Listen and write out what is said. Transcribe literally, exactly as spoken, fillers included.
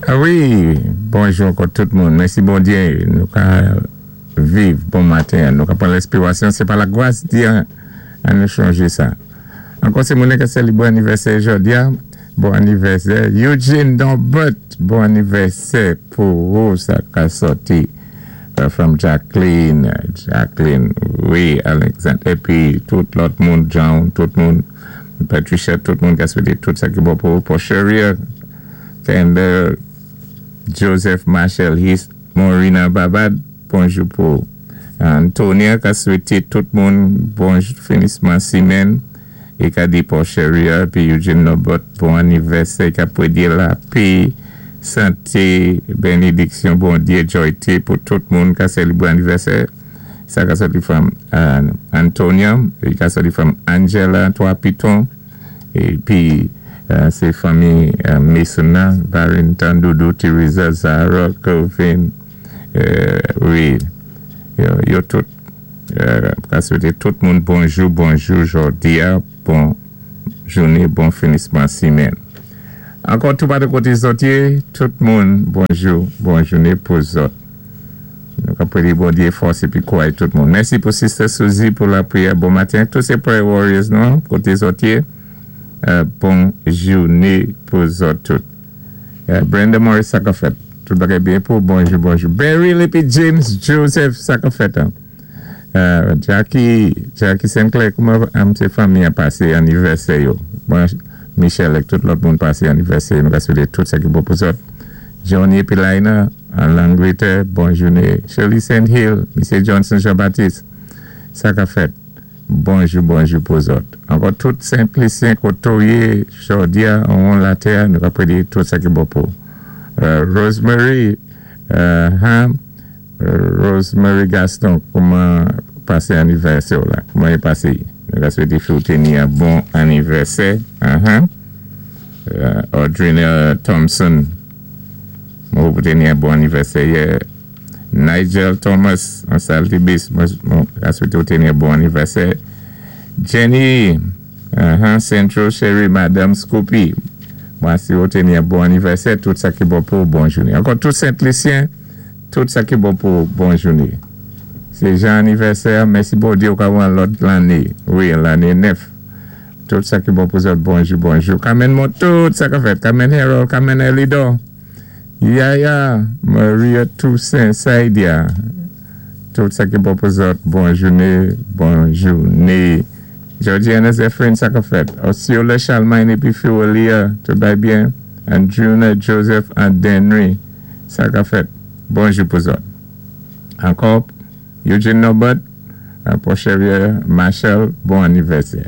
Ah wi, bonjou ankò tout moun. Mèsi Bondyé, nou ka viv bon maten. Nou ka pran lespirasyon, sé pa lagwas di an nou chanjé sa. Ankò sé moun ki sélébwé anivèsè jòdi a. Bon anivèsè. Eugene Dombert, bon anivèsè pou ou, sa ka sòti. Uh, from Jacqueline, Jacqueline, wi, Alexandre, épi tout lòt moun, John, tout moun, Patricia, tout moun ki a swété tout sa ki bon pou, pou Cheria, Kendall, Joseph Marshall, His, Maurina Babad, bonjou pou Antonia ki a swété tout moun bon finisman simèn, é ka di pou Cheria, pi Eugene Nobot, bon anivèsè, ka pwédi lapè, santé, bénidiksyon, Bondyé, joyté pou tout moun ki a sélébwé anivèsè. Sa ka sòti from uh, Antonia, é ka sòti from Angela, Twa Piton, épi uh, sé fanmi uh, Mason, Barrington, Doudou, Teresa, Zara, Kelvin, euh, wi, yo, yo tout, euh, ka swété tout moun bonjou, bonjou, jòdi a, bon jouné, bon finisman simèn. Ankò tout pa de koté zòt yé, tout moun, bonjou, bon jouné pou zòt. Nou ka pwédi Bondyé fòs épi kouway tout moun. Mèsi pou Sister Suzy pou lapriyè. Bon maten. Tout sé prayer warriors nou, koté zòt yé. Euh, bon jouné pou zòt tout. Euh, Brenda Morris, sa ka fèt. Tout bagay byen pou bonjou, bonjou. Barry épi James Joseph, sa ka fèt. Hein? Euh, Jackie, Jackie Sinclair, kouman am sé fanmi a pasé anivèsè yo? Bon, Michel ak tout lòt moun pasé anivèsè, nou ka swété tout sa ki bon pou zòt. Johnny épi Laina, an Langlétè, bon jouné. Shirley Saint Hill, Misye Johnson Jean-Baptiste, sa ka fèt. Bonjou, bonjou pou zòt. Ankò tout Sent Lisyen koto yé, jòdi a, an latè, nou ka pwédi tout sa ki bon pou. Euh, Rosemary, euh, hein, Rosemary Gaston, kouman pasé anivèsè la? Kouman i pasé? Nou ka swété fi teni yon bon anivèsè. Uh-huh. Uh, Audrina Thompson, mwen pou teni yon bon anivèsè. Yeah. Nigel Thomas, an Saltibus, mwen ka swété ou teni yon bon anivèsè. Jenny, uh-huh, Central Sherry, Madame Scoopy, mwen si ou teni yon bon anivèsè, tout sa ki bon pou bon jouné. Ankò tout Sent Lisyen, tout sa ki bon pou bon jouné. Sé jan anivèsè, mèsi Bondyé ou ka wè lòt lanné. Wi, lanné nèf. Tout sa ki bon pou zòt, bonjou, bonjou. Carmen Mont, tout sa ka fèt. Carmen Harold, Carmen Elido. Yaya, Maria Toussaint, Saidia. Tout sa ki bon pou zòt, bon jouné, bon jouné. Georgiana Zephyrin, sa ka fèt. Osceola Chalmine épi Fiwalia, tout bay byen. Andruna Joseph and Denry, sa ka fèt. Bonjou pou zòt. Ankò, Eugene Norbert, pou Cheria Marshall, bon anivèsè.